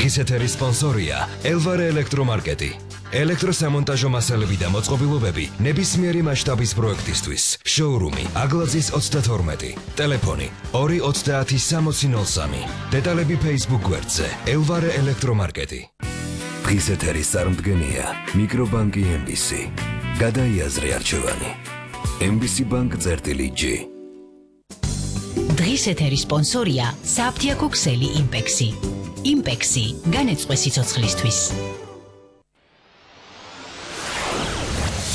დღის ეთერის სპონსორია ელვარე ელექტრომარკეტი. ელექტროსამონტაჟო მასალები და მოწყობილობები ნებისმიერი მასშტაბის პროექტისთვის. შოურუმი აგლაძის 32. ტელეფონი 2306003. დეტალები Facebook გვერდზე ელვარე ელექტრომარკეტი. დღის ეთერის წარმდგენია მიკრობანკი MBC. გადაიაზრე არჩევანი. MBC Bank წერტილი-G. დღის ეთერის სპონსორია საფთიაქო ქსელი იმპექსი. იმპექსი განეწყვე სიცოცხლისთვის.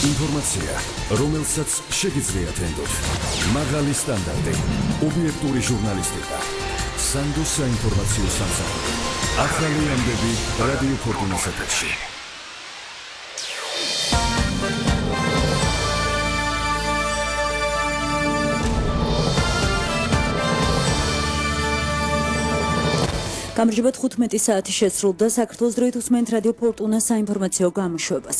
ინფორმაცია, რომელსაც შეგიძლიათ ენდოთ. მაღალი სტანდარტი, ობიექტური ჟურნალისტიკა. სანდოს საინფორმაციო სამსახური. ახალი ამბები რადიო ფორტუნას ეთერში. გამარჯობა 15 საათი შეცრულდა საქართველოს დროით უსმენთ რადიო ფორტუნას საინფორმაციო გამოშვებას.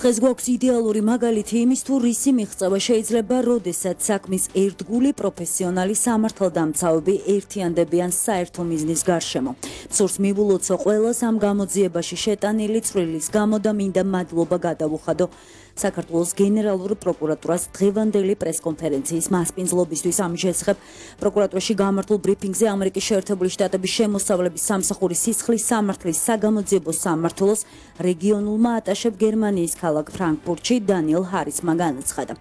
დღეს გვაქვს იდეალური მაგალითი იმის თუ რისი მიღწევა შეიძლება, როდესაც საქმის ერთგული პროფესიონალი სამართალდამცავები ერთიანდებიან საერთო მიზნის გარშემო. სურს მივულოცო ყველას ამ გამოძიებაში შეტანილი წვლილის გამო და მინდა მადლობა გადავუხადო საქართველოს გენერალურ პროკურატურას დღევანდელი პრესკონფერენციის მასპინძლობისთვის. ამ შესახებ პროკურატურაში გამართულ ბრიფინგზე ამერიკის შეერთებული შტატების შემოსავლების სამსახურის სისხლის სამართლის საგამოძიებო სამმართველოს რეგიონულმა ატაშებ გერმანიის ქალაქ ფრანკფურტში დანიელ ჰარისმა განაცხადა.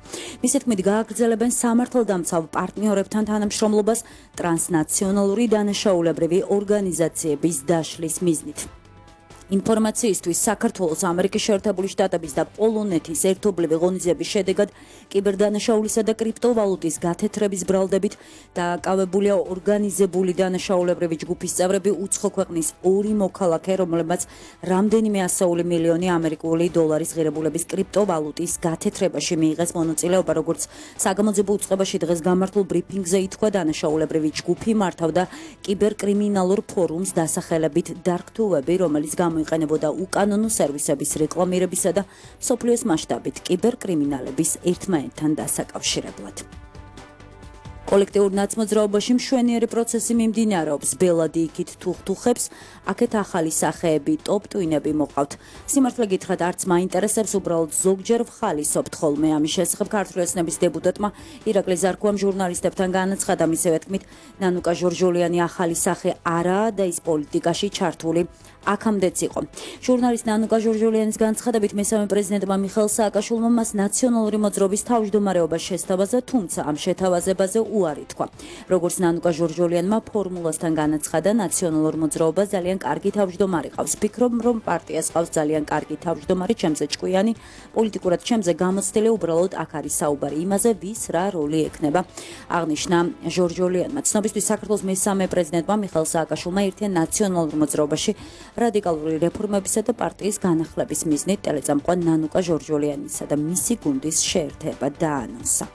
მისი თქმით, გააგრძელებენ სამართალდამცავ პარტნიორებთან თანამშრომლობას ტრანსნაციონალური დანაშაულებრივი ორგანიზაციების დაშლის მიზნით. ინფორმაციისთვის საქართველოს ამერიკის შეერთებული შტატების და პოლონეთის ერთობლივი ღონისძიების შედეგად კიბერდანაშაულისა და კრიპტოვალუტის გათეთრების ბრალდებით დაკავებულია ორგანიზებული დანაშაულებრივი ჯგუფის წევრები უცხო ქვეყნის 2 მოქალაქე, რომლებმაც რამდენიმე ასეული მილიონი ამერიკული დოლარის ღირებულების კრიპტოვალუტის გათეთრებაში მიიღეს მონაწილეობა. როგორც საგამოძიებო უწყებაში დღეს გამართულ ბრიფინგზე ითქვა, დანაშაულებრივი ჯგუფი მართავდა კიბერკრიმინალურ ფორუმს დასახელებით დარკ-თუვები, რომელიც გამოიყენებოდა უკანონო სერვისების რეკლამირებისა და მსოფლიოს მასშტაბით კიბერკრიმინალების ერთმანეთთან დასაკავშირებლად. კოლექტიურ ნაცმოძრაობაში მშვენიერი პროცესი მიმდინარეობს. ბელადი იქით თუხთუხებს, აქეთ ახალი სახეები, ტოპ-ტვინები მოყავთ. სიმართლე გითხრათ, არც მაინტერესებს, უბრალოდ ზოგჯერ ვხალისობთ ხოლმე. ამის შესახებ ქართული ოცნების დეპუტატმა ირაკლი ზარქუამ ჟურნალისტებთან განაცხადა. მისივე თქმით, ნანუკა ჟორჟოლიანი ახალი სახე არაა და ის პოლიტიკაში ჩართული აქამდეც იყო. ჟურნალისტ ნანუკა ჟორჟოლიანის განცხადებით, მესამე პრეზიდენტმა მიხეილ სააკაშვილმა მას ნაციონალური მოძრაობის თავმჯდომარეობა შესთავაზა, თუმცა ამ შეთავაზებაზე უარი თქვა. როგორც ნანუკა ჟორჟოლიანმა ფორმულასთან განაცხადა, ნაციონალურ მოძრაობას ძალიან კარგი თავმჯდომარე ყავს. ფიქრობ, რომ პარტიას ყავს ძალიან კარგი თავმჯდომარე, ჩემზე ჭკვიანი, პოლიტიკურად ჩემზე გამოცდილი, უბრალოდ აქ არის საუბარი იმაზე, ვის რა როლი ექნება. აღნიშნა ჟორჟოლიანმა. ცნობისთვის საქართველოს მესამე პრეზიდენტმა მიხეილ სააკაშვილმა ერთიან ნაციონალურ მოძრაობაში რადიკალური რეფორმებისა და პარტიის განახლების მიზნით ტელეწამყვან ნანუკა ჟორჟოლიანისა და მისი გუნდის შეერთება დაანონსა.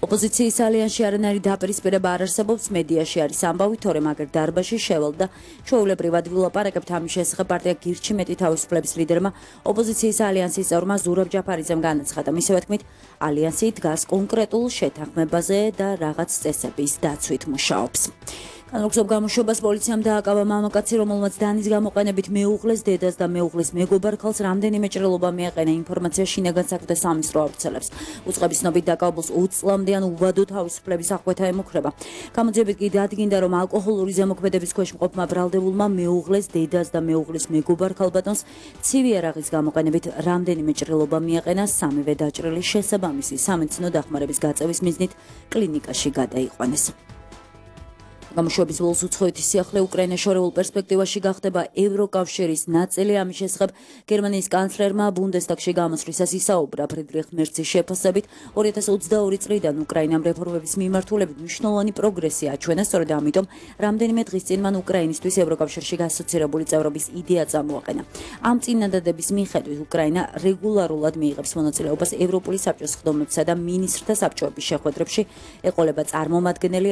ოპოზიციის ალიანსში არანაირი დაპირისპირება არ არსებობს. მედიაში არის ამბავი, თორემ აგერ დარბაზში შევალ და ჩვეულებრივად ვილაპარაკებთ ამის შესახებ პარტია გირჩი მეტი თავისუფლების ლიდერმა ოპოზიციის ალიანსის წევრმა ზურაბ ჯაფარიძემ განაცხადა. მისივე თქმით, ალიანსი დგას კონკრეტულ შეთანხმებაზე და რაღაც წესების დაცვით მუშაობს. განლოგზობ გამოშვებას პოლიციამ დააკავა მამაკაცი, რომელმაც დანის გამოყენებით მეუღლეს დედას და მეუღლის მეგობარ ქალს რამდენიმე ჭრილობა მიაყენა. ინფორმაცია შინაგან საქმეთა სამინისტრო ავრცელებს. უწყების ცნობით დაკავებულს 20 წლამდე უვადო თავისუფლების აღკვეთა ემუქრება. გამოძიებით კი დადგინდა, რომ ალკოჰოლური ზემოქმედების ქვეშ მყოფმა ბრალდებულმა მეუღლეს დედას და მეუღლის მეგობარ ქალბატონს ცივი არაღის გამოყენებით რამდენიმე ჭრილობა მიაყენა. სამივე დაჭრილი შესაბამისი სამედიცინო დახმარების გაწევის მიზნით კლინიკაში გადაიყვანეს. გამოშვების ბოლოს უცხოეთის სიახლე უკრაინას შორეულ პერსპექტივაში გახდება ევროკავშირის ნაწილი. ამის შესახებ გერმანიის კანცლერმა ბუნდესტაგში გამოსვლისას ისაუბრა. ფრიდრიხ მერცის შეფასებით 2022 წლიდან უკრაინამ რეფორმების მიმართულებით მნიშვნელოვანი პროგრესი აჩვენა. სწორედ ამიტომ რამდენიმე დღის წინ მან უკრაინისთვის ევროკავშირში ასოცირებული წევრობის იდეა წამოაყენა. ამ წინადადების მიხედვით უკრაინა რეგულარულად მიიღებს მონაწილეობას ევროპული საბჭოს სხდომებსა და მინისტრთა საბჭოების შეხვედრებში. ეყოლება წარმომადგენელი